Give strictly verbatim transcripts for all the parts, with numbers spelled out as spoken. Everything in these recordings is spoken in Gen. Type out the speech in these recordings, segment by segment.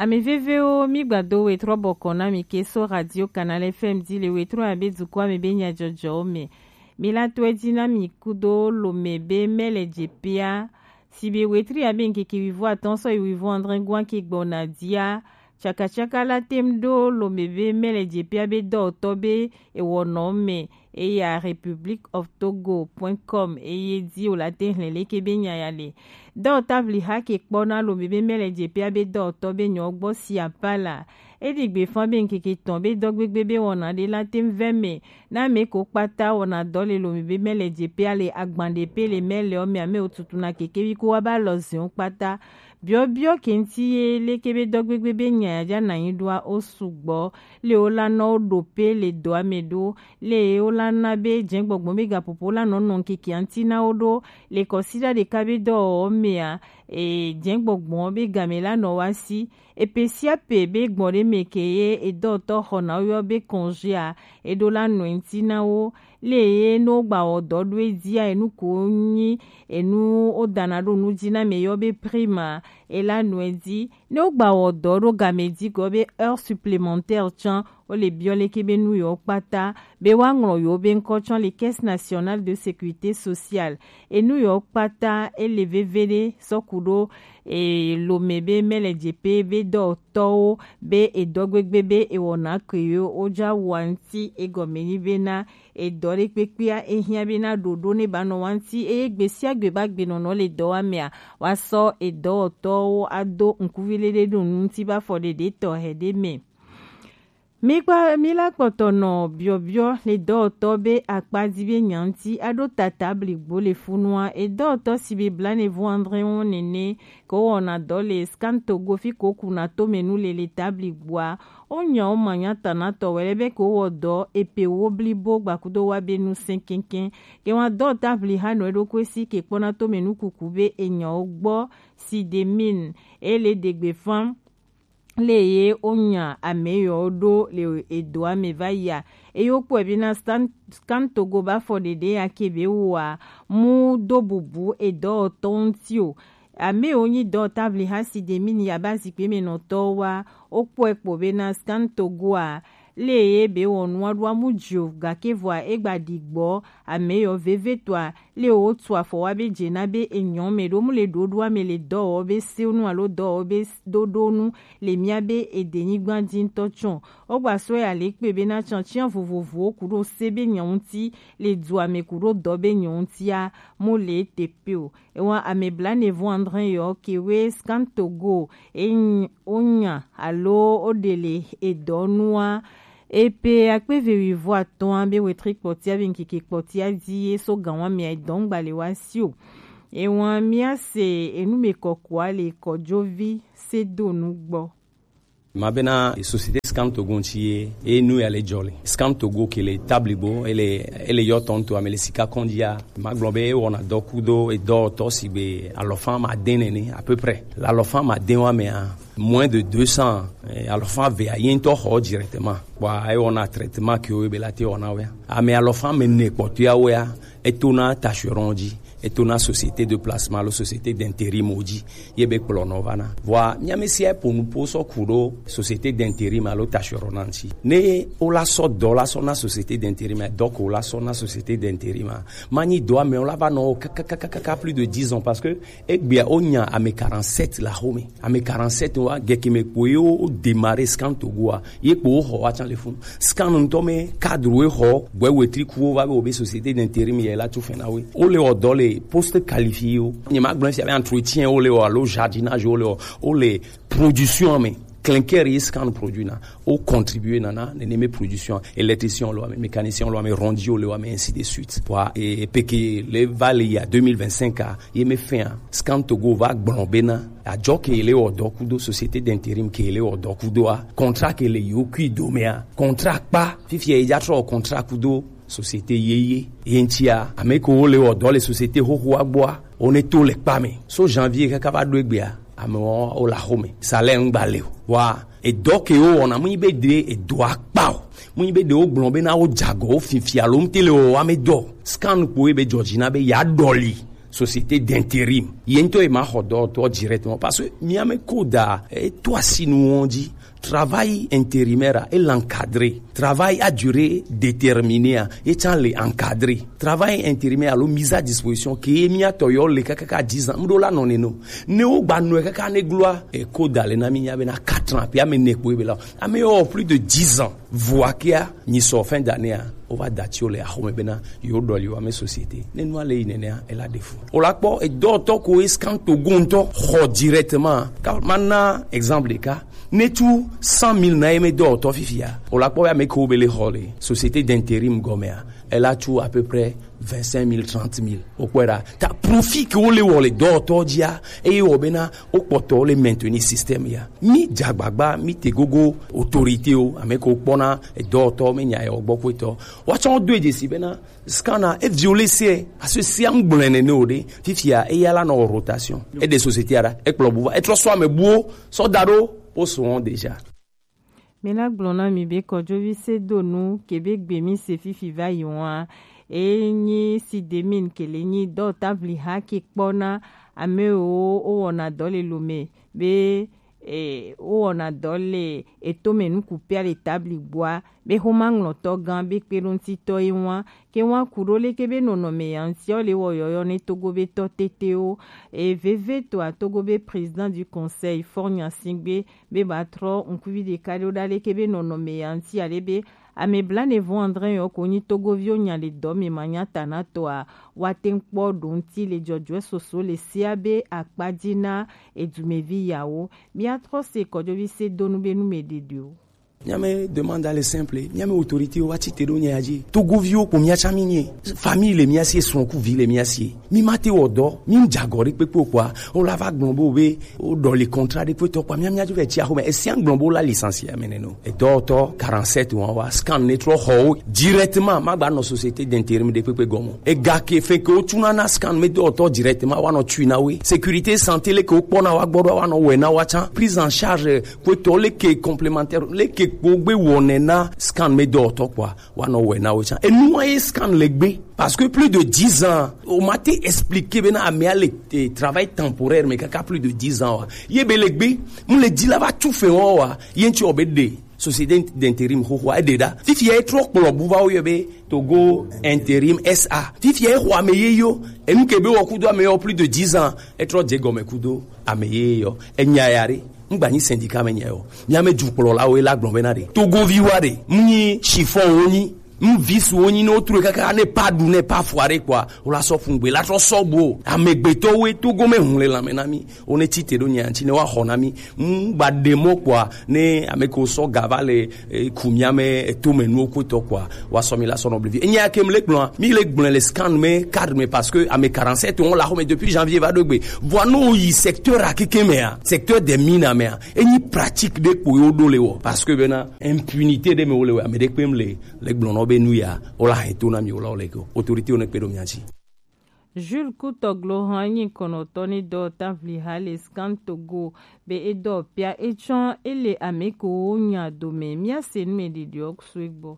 Ame vevewo, mi gbado wetrɔ bɔkɔ na mi ke so Radio Canal F M di le wetrɔ ya be dukɔ ame be nyajɔjɔwo me. Mi la to edzi na mi kudo lome be mele dzepea. Si be wetri ya be ŋkeke wivo atɔ̃ sɔ yi wivo adre gua ke gbɔna dia. Tsakatsaka la tem ɖo lome be mele dzepea be dɔwɔtɔ be ewɔnɔ me. Eya Republic of Togo point com eye di wòle ate hlẽ leke be nya ya le. Dɔwɔta vli ha ke kpɔna lome be mele dze pea be dɔwɔtɔ be nyɔ gbɔ si apa la. Eɖi gbe fã be ŋkeke tɔn be dɔgbegbe be wɔna ɖe la te ŋu vɛ me na ame ko kpata wɔna dɔ le lome be mele dze pea le agban ɖe pe le mele ɔ me ame wo tutuna kekevi ko wa ba lɔ ziwo kpata. Biɔbiɔ ke ŋuti ye leke be dɔgbegbe be nya ya ja na nyi ɖoa wo sugbɔ. Le wo la nɔ wo ɖo pe le dɔa me ɖo. Le wo la na be jɛngbɔgbɔ be gapopo la nɔ nɔ ŋkeke ŋuti na wo ɖo. Le kɔsiɖa ɖeka be dɔwɔwɔ mea, e, jɛngbɔgbɔ be game la nɔ wa si. Epe sia pe be gbɔn ɖe me ke ye edɔtɔ xɔ na wo yɔ be kɔnzia, eɖo la nɔ ŋuti na wo. Le ye no gba wɔ dɔ ɖo edzia, enu ko nyi enu wo dana ɖo nu dzi na me yɔ be prima, e la nɔ edzi. Ne wogba wɔ dɔ ɖo game di gɔ be heure supplémentaire tsã, wo le biɔ leke be nu yɔ kpata be wa ŋlɔ yɔ be ŋkɔ tsã le Caisse Nationale de Sécurité Sociale. Enu yɔ kpata ele veve ɖe sɔ ku ɖo e lome be mele dze pe be dɔtɔwo be edɔ gbegbe be ewɔna ke yo wo ja wa ŋuti egɔme nyi be na edɔ ɖe kpekpea ehiã be na ɖoɖo ne ba nɔ wa ŋuti eye gbe sia gbe ba gbe nɔnɔ le dɔwamea wa sɔ edɔwɔtɔwo ado ŋkuvi ɖeɖe ɖo nu ŋuti ba fɔ ɖeɖe tɔxɛ ɖe me. Mi kpa mi la kpɔtɔ nɔ biɔbiɔ le dɔwɔtɔ be akpa di be nya ŋuti aɖo tata bligbo le funua edɔwɔtɔ si be blanevɔ andre wo nene ko wɔna dɔ le Scan Togo fi ko kuna to me nu le le tabli gbua. O nya o ma nya ta na tɔ wɛ lɛ be ko wɔ dɔ epe wo blibo gbakudo wa be nu sɛn kɛnkɛn. Ke wa dɔ tabli ha nɔ eɖo ko esi ke kpɔna to me nu kuku be enya o gbɔ si de min e le degbe fan. Le ye o nya ame yɔ ɖo le edo ame va ya. Eye wo kpɔe be na Scan Togo ba fɔ ɖeɖe ya ke be wa mu do bubu edɔwɔtɔ ŋuti o. Ame wo nyi dɔwɔta vli ha si de mi ni yaba zikpui me nɔtɔwo wa, wo kpɔe kpo be na Scan Togo a, le ye be wɔ nua ɖo amu dzi o, gake vɔa e gba ɖi gbɔ ame yɔ veve tɔa, le wo tu afɔ wa be dze na be enyɔ me ɖo mu le ɖoɖoa me le dɔwɔ be sewo nu alo dɔwɔ be s-, ɖoɖo nu le mia be edenyigba dzi ŋutɔ tsɔ. Wo gba sɔe ale kpe be na tsɔtsiɔ vovovowo ku ɖo se be nyɔ ŋuti le dua me ku ɖo dɔ be nyɔ ŋutia mu le te pe o. Ewa ame blanevɔ andre yɔ ke we Scan Togo e nyi-, o nya alo o ɖe le edɔ nua. Epe akpe ve wivɔ atɔ̃ be wetri kpɔtia be ŋkeke kpɔtia di ye so gan wa mia edɔ ŋgba le wa si o. Ewa mia se enu me kɔkɔa le kɔjovi se do nu gbɔ. Ma bena société Scan Togo ŋuti ye, e nu ya le jɔ le. Scan Togo ke le tabligbo, ele, ele yɔ tɔn to ame le sika kɔndia. Ma gblɔ be e wɔna dɔ kudo edɔtɔ si be alɔfa ma de nene, à peu près. La alɔfa ma de wa mea, moins de deux cents, eh, alɔfa ve a ye ŋutɔ xɔ directement. Bua e wɔna traitement ke wo be la te wɔna wea. Ame alɔfa me ne kpɔtɔa wea, etona Tacheron dzi, etona société de placement alo société d'intérim dzi, ye be kplɔnɔ va na. Vɔa, mia me sia po nu po sɔ ku ɖo société d'intérim alo Tacheron na ŋuti. Ne wo la sɔ dɔ la sɔ na société d'intérim, dɔ ko la sɔ na société d'intérim, ma nyi dɔ ame wo la va nɔ kakakaka plus de dix ans parce que egbea o nya ame quarante-sept la xo me. Ame quarante-sept wa gɛkɛ me kpo ye wo démarrer Scan Togo a, ye kpo wo xɔ wa tsan le fun. Scan ŋutɔ me cadre wo xɔ, gbɛ wetri ku wo va be wo be société d'intérim ye la tso fɛn na wo. Wo le wɔ dɔ le poste qualifié wo. Nye ma gblɔ sia be entretien wo le wɔ alo jardinage wo le wɔ, wo le production me. Clinker ye Scan produit na, o contribuer na na nene me production, électricien wo le wa me, mécanicien wo le wa me, rondier wo le wa me, ainsi de suite. Wa e peke le va le ya deux mille vingt-cinq a, ye me fin a, Scan Togo va gblɔ bena, ajɔ ke le wɔ dɔ kudo société d'intérim ke le wɔ dɔ kudo a, contrat ke le yo kui do me a, contrat kpa, fifi e ja trɔ contrat kudo société yeye. Ye ŋutia, ame ko wo le wɔ dɔ le société xoxo a gbɔa, wo ne to le kpa me. So janvier kaka va ɖo egbea, ame wo, wo la xo me. Salaire ŋgba le o. Wa, edɔ ke wo wɔna, mu nyi be de edɔa kpa o. Mu nyi be de wo gblɔ bena wo jagɔ, wo fifia lo ŋuti le wɔ wa me dɔ. Scan kpo ye be jɔji na be ya dɔli. Société d'intérim. Ye ŋutɔ ye ma xɔ dɔwɔtɔ directement parce que mía mɛ koda e to asi nu wɔn dzi. Travail intérimaire a, e l'encadrer. Travail à durée déterminée a, e tsan le encadrer. Travail intérimaire alo mise à disposition ke mía tɔ yɔ le kaka dix ans. Mɖo la nɔ ne no. Ne wo gba nɔe kaka ne gloa e koda le na mi nya be na quatre ans pe ame ne kpo e be la. Ame yɔ plus de dix ans. Vɔa kia nyi sɔ fin d'année a, o va da tsi o le axome bena yo ɖɔ li wa me société. Ne nua le yi nenea, ela de fu. O la kpɔ edɔtɔ ko e scan to go ŋutɔ xɔ directement. Ka ma na exemple ɖeka. Ne tu cent mille na ye me dɔtɔ fifia. O la kpɔ ya me ko be le xɔ le société d'intérim gɔmea. Ela tu à peu près vingt-cinq mille, trente mille. O kpɔe ɖa. Ta profit ke wo le wɔ le dɔtɔ dzia, eye wɔ bena o kpɔtɔ le maintenir système ya. Mi dzagbagba, mi te gogo autorité o, ame ko kpɔna dɔtɔ, mi nya yɔ gbɔ kpɔtɔ. Wa tsɔ do edze si bena scanner e violé se, aso sia ŋgblɔe nene o ɖe. Fifia eya la nɔ rotation. E de société ara, e kplɔ bu va, e trɔ sɔ ame buwo, sɔ da ɖo, o sɔ déjà. Mina gblɔ na mi be kɔdzovi se do nu ke be gbe mi se fifi va yi ŋua. E nyi si de min ke le nyi dɔ tabli ha ke kpɔ na ame wo o wɔna dɔ le lo me be e, wowɔna dɔ le etome nukupia le tabli gbɔa, be xomaŋlɔtɔ gã be kpeɖoŋutitɔ ye ŋua, ke ŋua ku ɖo leke be nɔnɔme ya ŋuti ɔ le wɔ yɔyɔ ne Togo be tɔ tetewo. E veve toa Togo be président du conseil Faure Gnassingbé be ba trɔ ŋkuvi ɖeka ɖo ɖa leke be nɔnɔme ya ŋuti ale be Ame blanevo André yɔ ko nyi Togoviwo nya le dɔ me manyata na tɔa, woate ŋu kpɔ ɖo ŋuti le jɔjɔɛ soso le sea be akpa ji na edumevi yawo. Míatrɔ se kɔjɔvi se donu be nu me ɖeɖewo. Mía me demande le simple, mía me autorité wa tsi te ɖo nya ya dzi. Togoviwo kpo mía tsã mí nye. Famille le mía sie, srɔ̃kuvi le mía sie. Mi ma te wɔ dɔ, mi dza gɔ ɖe kpekpe o kpɔa, o la va gblɔ bo be, o ɖɔ le contrat ɖe kpetɔ kpɔa, mia mia dzo vɛ tsi axome. Esia gblɔ bo la licencié ame nɛ no. Edɔwɔtɔ quarante-sept wɔn wa scan ne trɔ xɔ wo directement, ma gba nɔ société d'intérim ɖe kpekpe gɔme. Ega ke fe ke o tsuna na scan me dɔwɔtɔ directement wa nɔ tsui na we. Sécurité santé le ke o kpɔ na wa gbɔ ɖo wa nɔ wɛ na wa tsã. Prise en charge kpetɔ le ke complémentaire le ke kpo gbe wɔnɛ na scan me dɔwɔtɔ kpɔa. Wa nɔ wɛ na wo tsã. Enua ye scan le gbe. Parce que plus de dix ans, o ma te expliquer be na amea le eh, travail temporaire me kaka plus de dix ans wa. Ye be le gbe, mu le dzi la va tu fe wa wa. Ye ŋtsi o be de société d'intérim xoxo a de da. Fifi ye trɔ kplɔ bu va wo yɔ be Togo Intérim S A. Fifi ye xɔ ame ye yo. Enu ke be wɔ kudo ame yɔ plus de dix ans. E trɔ dze gɔme kudo ame ye yɔ. Enya ya re. Ŋgba nyi syndicat me nya o. Mía me dukplɔlawo la gblɔ bena ɖe Togoviwa ɖe mu nyi chiffon wo nyi, mu visu wo nyi, ne wotru kaka ne pa ɖu ne pa fua ɖe kpɔa, wo la sɔ ƒu ŋgbe la trɔ sɔ bo. Amegbetɔwoe Togo me ŋu le lãme na mí. Wo ne tsi te ɖo nya ŋtsi ne woaxɔ na mí. Ŋgba ɖe mɔ kpɔa, ne ame ko sɔ ga va le eh, ku mía me etome nuwo kpotɔ kpɔa, wa sɔ mi la sɔ nɔ blevi. Enya ke mi le gblɔa, mi le gblɔe le scan me, cadre me, parce que ame quarante-sept on la xɔ me depuis janvier va ɖo gbe. Vɔa no yi secteur akeke mea, secteur des mines mea, enyi pratique ɖe kpo yo ɖo le wɔ, parce que bena impunité ɖe me wo le wɔ, ame ɖe kpe mi le, le gblɔ nɔ be nu ya, o la hɛn to na mi o la o le ko. Autorité o ne kpe ɖo mia ŋtsi. Jules Kutɔglo hã nyi kɔnɔtɔ ni dɔ tavli ha le Scan Togo be edɔ pia etsɔ ele ame ko nya dome mia se nu me ɖiɖiɔ sue gbɔ.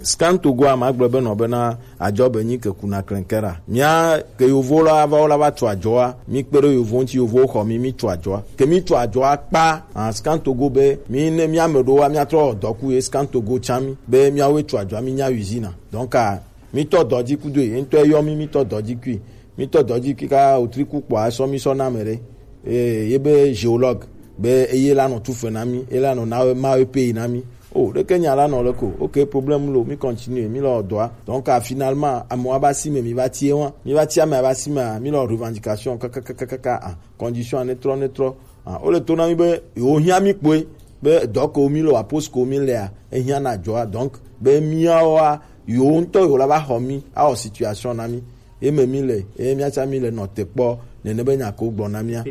Scan Togo a ma gblɔ be nɔ bena adzɔ be nyi ke kuna klɛnkɛra. Mia ke yovo la va wo la va tu adzɔa, mi kpe ɖe yovo ŋuti, yovo xɔ mi, mi tu adzɔa. Ke mi tu adzɔa kpa, ah, Scan Togo be mi ne mia me ɖo wa mia trɔ dɔku ye Scan Togo tsa mi be miawoe tu adzɔa mi nya usine. Donc, ah, mi tɔ dɔ dzi kudo ye ŋutɔ yɔ mi, mi tɔ dɔ dzi kui. Mi tɔ dɔ dzi kui ka wotri ku kpɔ asɔ mi sɔ na me ɖe. Eh, ye be géologue be eye la nɔ tu fe na mi, e la nɔ na ma e pay na mi. Oh, ɖeke nya la nɔ le ko. Ok, problème lo, mi continue, mi lɔ dɔa. Donc, ah, finalement, amewo aba si me, mi va tie wa. Mi va tie ame aba si me, mi lɔ revendication, kakakakaka, ah, condition ne trɔ, ne trɔ. Ah, wo le to na mi be yewo hiã mi kpoe be dɔ ko mi le wa, poste ko mi lea, ehiã na dzɔa. Donc be miawoa, yewo ŋutɔ yewo la va xɔ mi, awɔ situation na mi. Ye me mi le, ye mia tsã mi le nɔ te kpɔ nene be nya ko gblɔ na mia.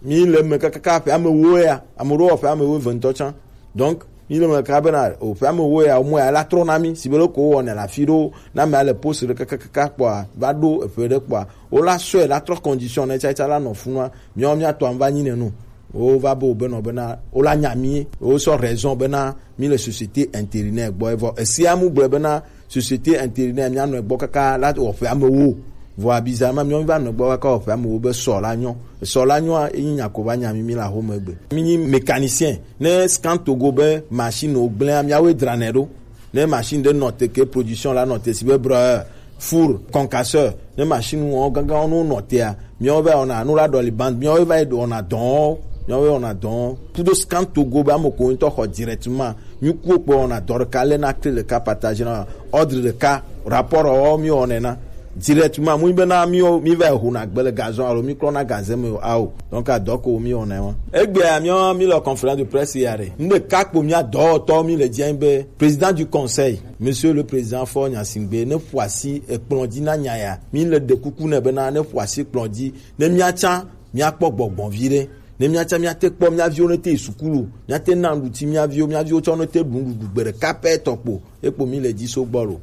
Mi le me kakaka ƒe ame wo ya, ame ɖewo ƒe ame wo eve ŋutɔ tsã. Donc mi le me kaka bena o ƒe ame wo ya, o mo ya la trɔ na mi, si be le ko wɔ ne la fi ɖo, na me ale poste ɖe kakakaka kpɔa, va ɖo eƒe ɖe kpɔa, wo la sɔe la trɔ condition ne tsatsa la nɔ funua. Miawo mia tɔ va nyi ne nu. Wo va be wo be nɔ bena wo la nya mi, wo sɔ raison bena mi le société intérimaire gbɔ. Evɔ esia mu gblɔ bena société intérimaire mia nɔ gbɔ kaka la wɔ ƒe ame wo. Vɔa bizarrement, míawo míva nɔ gbɔ va kɔ ƒe amewo be sɔ la nyɔ. Sɔ la nyɔa, enyi nya ko va nya mí, mí le axome egbe. Mí nyi mécanicien. Ne Scan Togo be machine wo gblẽa, míawoe dranɛ ɖo. Ne machine ɖe nɔ te ke production la nɔ te si be brɔ, four, concasseur, ne machine wɔn gãgãwo no nɔ tea, míawo va wɔna, nu la ɖɔli band, míawo va yi wɔna dɔn, míawo va wɔna dɔn. Kudo Scan Togo be ame ko ŋutɔ xɔ directement, mí kuwo kpɔ wɔna dɔ ɖeka lé na clé ɖeka partage na ordre ɖeka, rapport wɔ mí wɔnɛ na directement. Mu be na mí mí va ho na gbe le gazon alo mí klɔ na gazé me o, ao. Donc adɔ ko mí wɔnɛ wa. Egbea mí mí le conférence de presse ya ɖe. Ŋɖe ka kpo mía dɔwɔtɔ mí le dzi be président du conseil, monsieur le président Faure Gnassingbé, ne ƒo asi ekplɔ dzi na nya ya. Mí le ɖe kuku nɛ bena ne ƒo asi kplɔ dzi, ne míatsã míakpɔ gbɔgbɔ vi ɖe. Ne míatsã míate kpɔ mía viwo ne te yi sukulu, míate na nuɖuti mía viwo, mía viwo tsɔ ne te ɖu nuɖuɖu gbe ɖeka pɛ tɔ kpo, ekpo mí le dzi so gbɔ lo.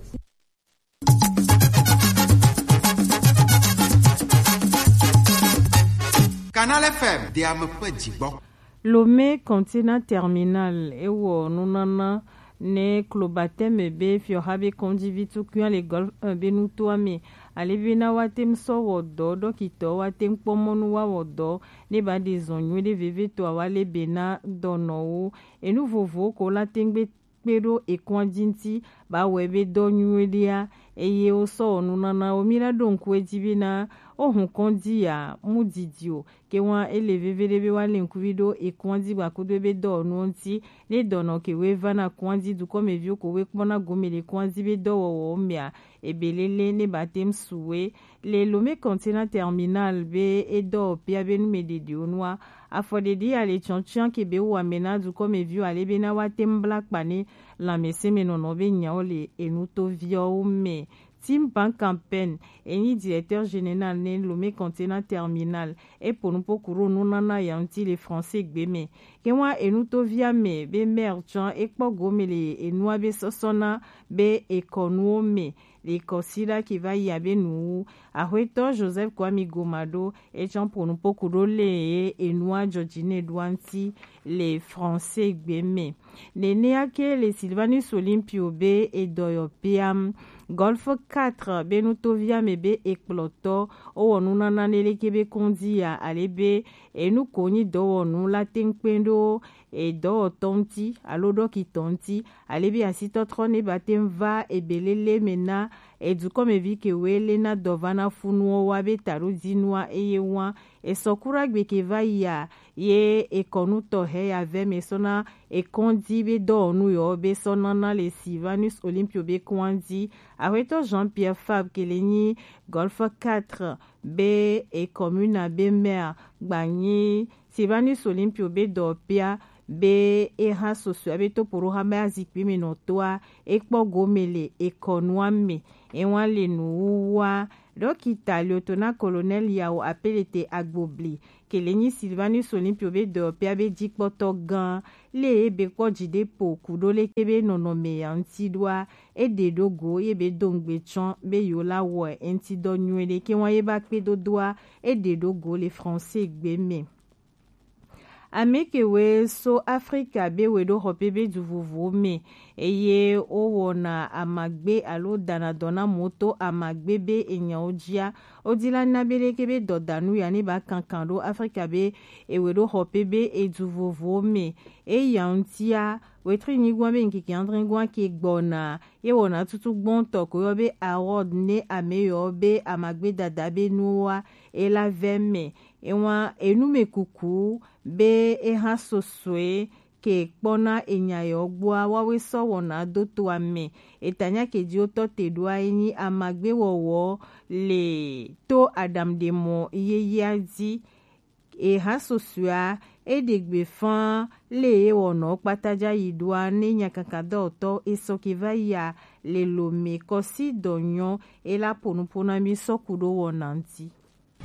Canal F M, de ame ƒe dzigbɔ. Lomé Container Terminal ewɔ nunana ne klobatɛmɛ be fiɔha be kɔndzivi tukui le Golfe un be nutoa me. Ale be na woate ŋu sɔ wɔ dɔ, ɖɔkitɔ woate ŋu kpɔ mɔnu woawɔ dɔ ne ba ɖe zɔ nyui ɖe vevitɔ awa le be na dɔnɔwo. Enu vovowo ko la te ŋu gbe kpe ɖo ekɔa dzi ŋuti ba wɔe be dɔ nyui ɖea, eye wosɔ wɔ nunanawo. Mí la ɖo ŋku edzi be na wohun kɔndzi ya mu didi o. Ke wa ele veve ɖe be wa le ŋkuvi ɖo ekɔa dzi gbakudo be dɔwɔnuwo ŋuti. Ne dɔnɔ ke we va na kɔa dzi dukɔmeviwo ko we kpɔna gome le kɔa dzi be dɔwɔwɔwo mea, ebe lele ne ba te ŋu su we. Le Lomé Container Terminal be edɔwɔƒea be numeɖeɖewo nua, afɔɖeɖi ya le tsɔtsɔa ke be wɔ ame na dukɔmeviwo ale be na woate ŋu bla kpa ne lãmesẽmenɔnɔ be nyawo le enutoviawo me. Tim Bankampen, enyi directeur général ne Lomé Container Terminal, epo nupo ku ɖo nunana ya ŋuti le français gbe me. Ke wa enutovia me be maire tsɔ ekpɔ gome le enua be sɔsɔna be ekɔnuwo me le kɔsiɖa ke va yi abe nuwu. Aƒetɔ Joseph Kwame Goma ɖo etsɔ ƒo nuƒo ku ɖo le ye enua dzɔdzi ne ɖoa ŋuti le français gbe me. Nenea ke le Sylvanus Olympio be edɔyɔƒea, Golfe quatre be nutovia me be ekplɔtɔ wowɔ nunana ne leke be kɔndzi ya ale be enu ko nyi dɔwɔnu la te ŋu kpe ɖo edɔwɔtɔ ŋuti alo ɖɔkitɔ ŋuti, ale be asitɔtrɔ ne ba te ŋu va ebelele me na edukɔmevi ke woe le na dɔ va na funuwo wa be taɖodzinua eye wa esɔ kura gbe ke va yia ye ekɔnu tɔxɛ ya vɛ me sɔ na ekɔndzi be dɔwɔnu yɔ be sɔ nana le Sylvanus Olympio be kɔndzi. Aƒetɔ Jean-Pierre Fabre ke le nyi Golfe quatre be ecommune be maire gba nyi Sylvanus Olympio be dɔpia be eha sosɔe be topoɖoha be azikpui me nɔtɔa ekpɔ gome le ekɔnua me. Ewa le nuwuwua. Ɖɔkita Lieutenant Colonel Yao Apelete Agbobli ke le nyi Sylvanus Olympio be dɔpia be dzikpɔtɔ gã le ebe kpɔ dziɖepo ku ɖo leke be nɔnɔme ya ŋuti ɖoa, eɖe ɖo go ye be do ŋugbe tsɔ be yewo la wɔe eŋuti dɔ nyuie ɖe ke wa ye ba kpe dodoa eɖe ɖo go le français gbe me. Ame kewoe so Afrika be weɖoxɔƒe be du vovowo me eye wowɔna amagbe alo dana dɔ na moto amagbe be enyawo dzia, wodi la na be leke be dɔdanu ya ne ba kankan ɖo Afrika be eweɖoxɔƒe be edu vovowo me. Eya ŋutia, wetri nyigua be ŋkeke adre gua ke gbɔna ye wɔna tutu gbɔntɔ ko yɔ be Harold ne ame yɔ be amagbe dada be nuwoa ela vɛ me. Ewa enumekuku be eha sosɔe ke kpɔna enya yɔ gbɔa wawe sɔ wɔna do toa me. Etanya ke dzi wotɔ te ɖoa enyi amagbe wɔwɔ le to aɖaŋuɖemɔ yeyea dzi. Eha sosɔea eɖe gbe faa le ewɔnɔ kpata dza yi ɖoa ne nyakaka dɔwɔtɔ esɔ ke va yia le lome kɔsi dɔ nyɔ ela ƒo nuƒo na mi sɔ ku ɖo wɔna ŋuti.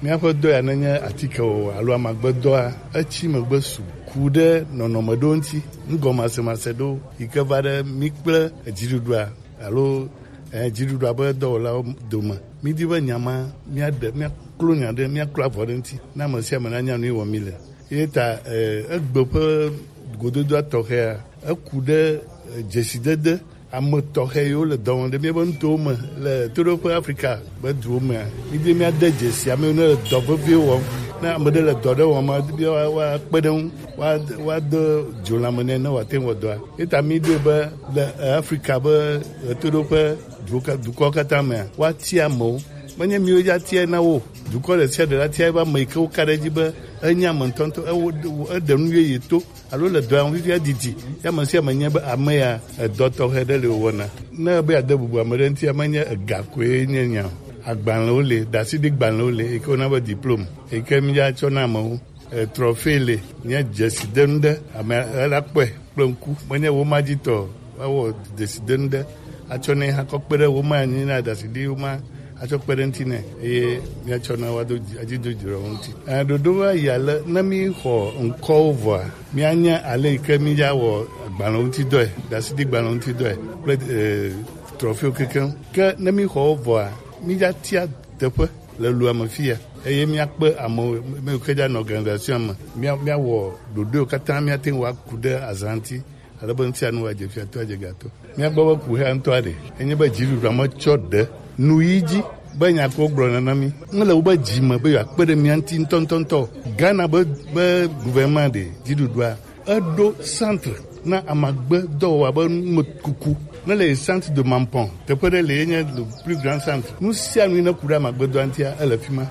Míaƒe dɔ ya nenye atike o alo amagbedɔa, etsi megbe su ku ɖe nɔnɔme ɖewo ŋuti, nugɔmasemase ɖewo yi ke va ɖe mí kple dziɖuɖua alo eh, dziɖuɖua ƒe dɔwɔlawo dome. Mídi be nya ma míaɖe, míaklo nya ɖe, míaklo avɔ ɖe ŋuti, ne ame sia ame nanya nu yi wɔm míle. Ye ta eh, egbe ƒe gododoa tɔxɛa, eku ɖe eh, dzesidede Ame tɔxɛ yiwo le dɔ wɔm ɖe míaƒe nutowo me le toɖoƒe Afrika be duwo mea, mídi míade dzesi ame yiwo ne le dɔ veviwo wɔm. Ne ame ɖe le dɔ ɖe wɔm ma, míawa woakpe ɖe eŋu, woa- woado dzo lãme nɛ ne wòate ŋu wɔ dɔa. Ye ta míɖoe be le eh, Afrika be eh, toɖoƒe duwo ka- dukɔwo katã mea, woatia amewo. Menye míwo dza tia na wo o. Dukɔ ɖe sia ɖe la tia eƒe ame yi ke woka ɖe edzi be enye ame ŋutɔŋutɔ, ewo- eɖe nu yeye to alo le dɔa ŋu fifia didi. Ya ame sia ame nye be ame ya edɔ tɔxɛ ɖe le wòwɔna. Ne ebe yeade bubu ame ɖe ŋutia, menye ega koe nye nya o. Agbalẽwo le, ɖasiɖi gbalẽwo le, yi ke wona be diplome, yi ke míatsɔ na amewo. Eh, trophée le, nye dzesidenu ɖe, ame ela kpɔe kple ŋku. Menye woma dzi tɔ o, woawɔ dzesidenu ɖe atsɔ nɛ hã kɔ kpe ɖe woma anyi na ɖasiɖi woma atsɔ kpe ɖe ŋuti nɛ, eye míatsɔ na woado dzi- adzido dzro wo ŋuti. Eh, ɖoɖo va yi ale ne míxɔ ŋkɔwo vɔa, míanya ale yi ke míawɔ agbalẽ ŋuti dɔe, ɖasiɖi gbalẽ ŋuti dɔe kple eh, trophée kekeŋ. Ke ne míxɔ wo vɔa, míatia teƒe le lua me fiya, eye míakpe amewo, ame yiwo ke dza nɔ organisation me, mía- míawɔ ɖoɖoewo katã míate ŋu aku ɖe azã ŋuti, ale be ŋutia nu adze fiato adze gato. Míagbɔ be kuxia ŋutɔa ɖe enye be dziɖuɖua metsɔ ɖe nu yi dzi be nya ko gblɔna na mí. Mele wobe dzi me be yewoakpe ɖe mía ŋuti ŋutɔŋutɔŋutɔ o. Ghana be be gouvernement ɖe dziɖuɖua eɖo centre na amagbedɔwɔwɔ be numekuku. Ne le centre de Mampon, teƒe ɖe le ye nye le plus grand centre. Nu sia nu yi ne ku ɖe amagbedɔa ŋutia, ele fi ma.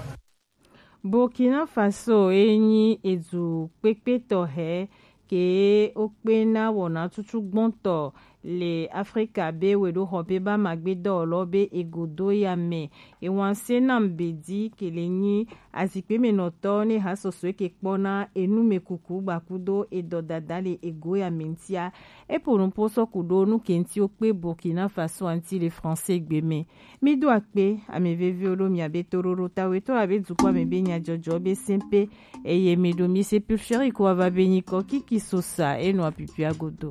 Burkina Faso ye nyi edu kpekpe tɔxɛ ke wokpena wɔna tutu gbɔntɔ le Afrika be weɖoxɔ be ba magbe dɔwɔlɔ be egodo ya me. Ewan se nam bedi ke le nyi azikpe me nɔtɔ ne ha sɔsɔe ke kpɔna enu me kuku gbakudo edɔ dada le ego ya me ŋutia. Epo nupo sɔ ku ɖo nu ke ŋuti wokpe Burkina Faso ŋuti le français gbe me. Mi do akpe, ame veviwo ɖo miabe toɖoɖo ta wetɔ abe dukɔ ame be nyadzɔdzɔ be sɛnpe, eye mi ɖo mi se pulferi ko ava be nyikɔ kiki sosa enɔ apipia godo.